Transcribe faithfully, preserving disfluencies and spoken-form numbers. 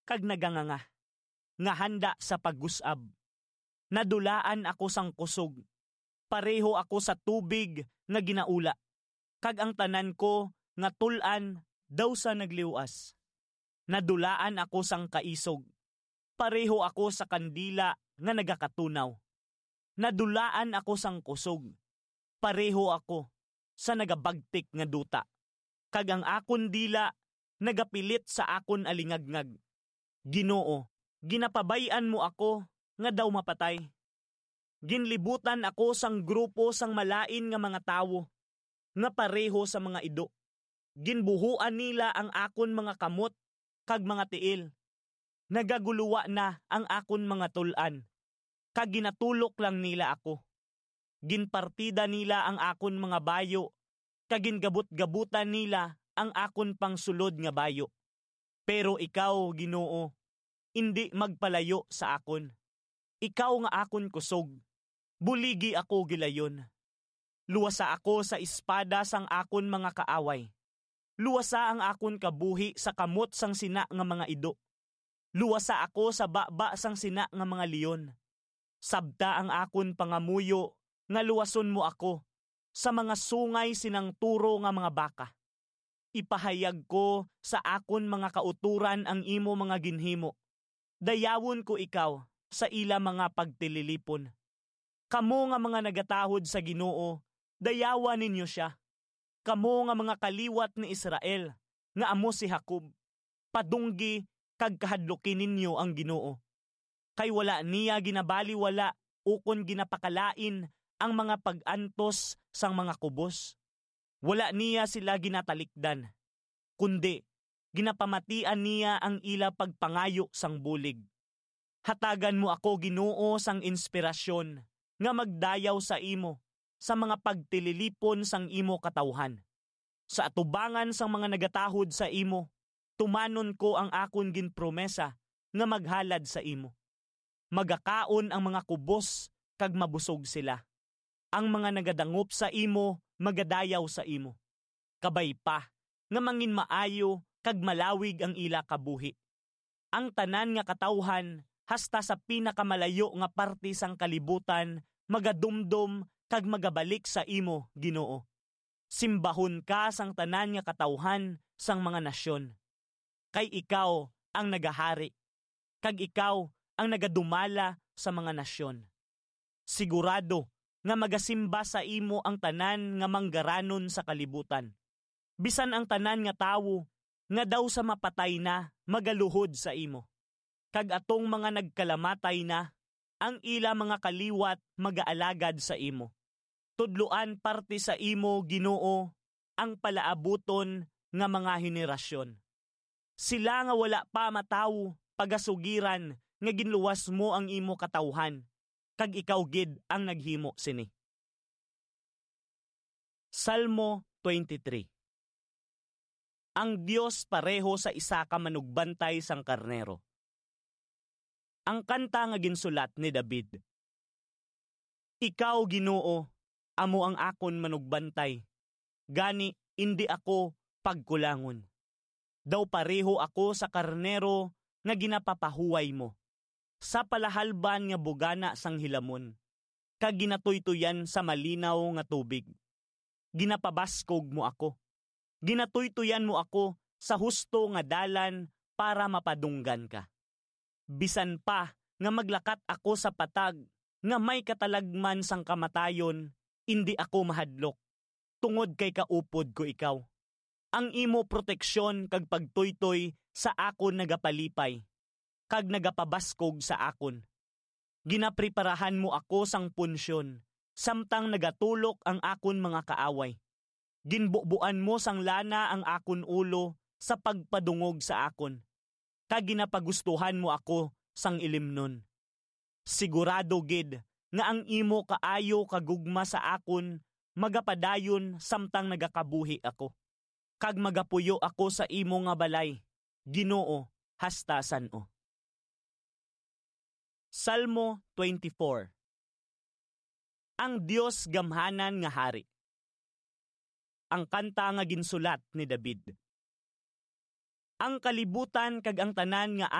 kag naganganga, nga handa sa paggus-ab. Nadulaan ako sang kusog, pareho ako sa tubig nga ginaula, kag ang tanan ko nga tul-an daw sa nagliw-as. Nadulaan ako sang kaisog, pareho ako sa kandila nga nagakatunaw. Nadulaan ako sang kusog, pareho ako sa nagabagtik nga duta, kag ang akon dila nagapilit sa akon alingagngag. Ginoo, ginapabay-an mo ako nga daw mapatay. Ginlibutan ako sang grupo sang malain nga mga tawo, nga pareho sa mga ido. Ginbuhoan nila ang akon mga kamot kag mga tiil. Nagagulowa na ang akon mga tul-an, kag ginatulok lang nila ako. Ginpartida nila ang akon mga bayo, kag gingabot-gabotan nila ang akon pangsulod nga bayo. Pero ikaw, Ginoo, indi magpalayo sa akon. Ikaw nga akon kusog, buligi ako gilayon. Luwasa ako sa espada sang akon mga kaaway. Luwasa ang akon kabuhi sa kamot sang sina nga mga ido. Luwasa ako sa baba sang sina nga mga leon. Sabta ang akon pangamuyo nga luwason mo ako sa mga sungay sinang turo nga mga baka. Ipahayag ko sa akon mga kautoran ang imo mga ginhimo. Dayawon ko ikaw sa ila mga pagtililipon. Kamo nga mga nagatahod sa Ginoo, dayawa ninyo sia. Kamo nga mga kaliwat ni Israel, nga amo si Jacob, padunggi kag kahadluki ninyo ang Ginoo. Kay wala niya ginabaliwala ukon ginapakalain ang mga pag-antos sang mga kubos. Wala niya sila ginatalikdan, kundi ginapamatian niya ang ila pagpangayo sang bulig. Hatagan mo ako, Ginoo, sang inspirasyon nga magdayaw sa imo sa mga pagtililipon sang imo katawhan. Sa atubangan sang mga nagatahod sa imo, tumanon ko ang akon ginpromesa nga maghalad sa imo. Magakaon ang mga kubos kag mabusog sila. Ang mga nagadangop sa imo magadayaw sa imo. Kabay pa nga manginmaayo kag malawig ang ila kabuhi. Ang tanan nga katawhan, hasta sa pinakamalayo nga parti sang kalibutan, magadumdom kag magabalik sa imo, Ginoo. Simbahon ka sang tanan nga katawhan sang mga nasyon, kay ikaw ang nagahari, kag ikaw ang nagadumala sa mga nasyon. Sigurado nga magasimba sa imo ang tanan nga manggaranon sa kalibutan, bisan ang tanan nga tawo nga daw sa mapatay na magaluhod sa imo. Kag atong mga nagkalamatay na, ang ila mga kaliwat magaalagad sa imo. Tudloan parte sa imo, Ginoo, ang palaabuton nga mga henerasyon. Sila nga wala pa matawo pagasugiran nga ginluwas mo ang imo katawhan, kag ikaw gid ang naghimo sini. Salmo twenty-three. Ang Dios pareho sa isa ka manugbantay sang karnero. Ang kanta nga ginsulat ni David. Ikaw, Ginoo, amo ang akon manugbantay, gani indi ako pagkulangon. Daw pareho ako sa karnero nga ginapapahuway mo, sa palahalban nga bugana sang hilamon, kag ginatuytoyan sa malinaw nga tubig. Ginapabaskog mo ako. Ginatuytoyan mo ako sa husto nga dalan para mapadunggan ka. Bisan pa nga maglakat ako sa patag nga may katalagman sang kamatayon, indi ako mahadlok, tungod kay kaupod ko ikaw. Ang imo proteksyon kag pagtuytoy sa akon nagapalipay, kag nagapabaskog sa akon. Ginapreparahan mo ako sang punsyon, samtang nagatulok ang akon mga kaaway. Ginbubuan mo sang lana ang akon ulo sa pagpadungog sa akon, kag ginapagustuhan mo ako sang ilimnon. Sigurado gid nga ang imo kaayo kag gugma sa akon magapadayon samtang nagakabuhi ako, kag magapuyo ako sa imo nga balay, Ginoo, hasta san-o. Salmo twenty-four. Ang Dios gamhanan nga Hari. Ang kanta nga ginsulat ni David. Ang kalibutan kag ang tanan nga